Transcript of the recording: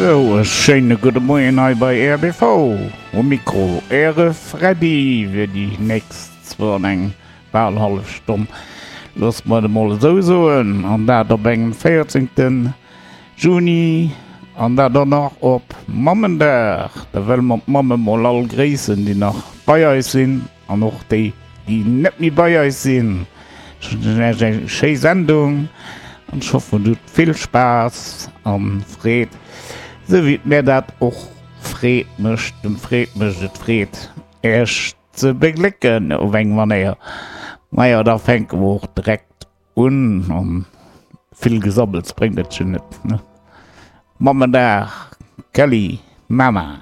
Sou, e schéine gudde Moien hei bei rbv. Um Mikro Äre Freddy fir déi nächst zwou an eng bal hallef Stonn, loosse mer et emol esou soen, an dat op engem 14. Juni an dat och nach op Mammendag. Da wëlle mer d'Mamme mol all gréissen, déi nach bei eis sinn an och déi, déi net méi bei eis sinn. Ech wënschen iech eng schéi Sendung an ech hoffen dir hutt vill Spaass an Freed, esou wéi et mär dat och Freed mécht, dem Freed mécht et Freed iech ze beglécken op eng Manéier. Majo da fänke mer och direkt un an vill Gesabbels bréngt et jo net, ne? Mammendag Kelly Mama.